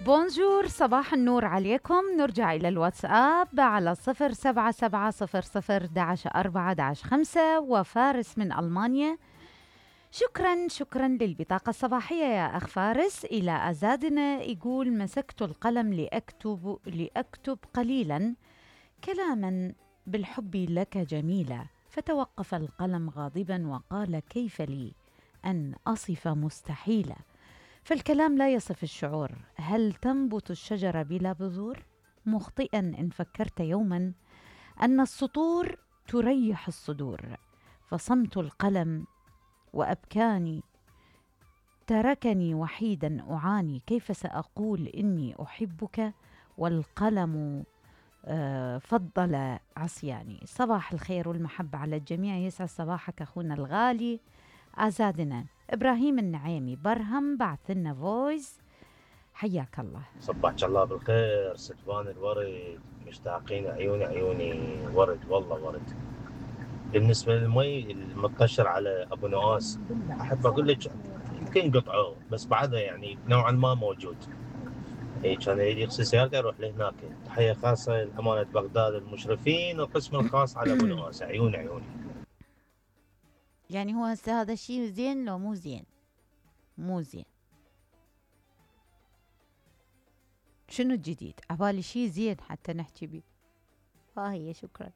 بونجور، صباح النور عليكم. نرجع إلى الواتساب على 0770011 وفارس من ألمانيا. شكرا للبطاقة الصباحية يا أخ فارس. إلى أزادنا يقول: مسكت القلم لأكتب قليلا كلاما بالحب لك جميلا، فتوقف القلم غاضبا وقال: كيف لي أن أصف مستحيلا؟ فالكلام لا يصف الشعور. هل تنبت الشجرة بلا بذور؟ مخطئا إن فكرت يوما أن السطور تريح الصدور. فصمت القلم وأبكاني، تركني وحيدا أعاني. كيف سأقول إني أحبك والقلم فضل عصياني؟ صباح الخير والمحبة على الجميع. يسعد صباحك أخونا الغالي أزادنا. إبراهيم النعيمي برهم بعث لنا فويس. حياك الله. صبحك الله بالخير ستفان الورد، مشتاقين عيوني ورد، والله ورد. بالنسبة للمي المنتشر على أبو نواس، أحب أقول لك يمكن قطعوه بس بعدها يعني نوعا ما موجود. كان يريد يغسل سيارته يروح لهناك. تحية خاصة لأمانة بغداد المشرفين والقسم الخاص على أبو نواس. عيوني. يعني هو هذا الشيء زين لو مو زين؟ مو زين. شنو الجديد؟ عبالي شيء زين حتى نحكي بيه. ها هي. شكرا.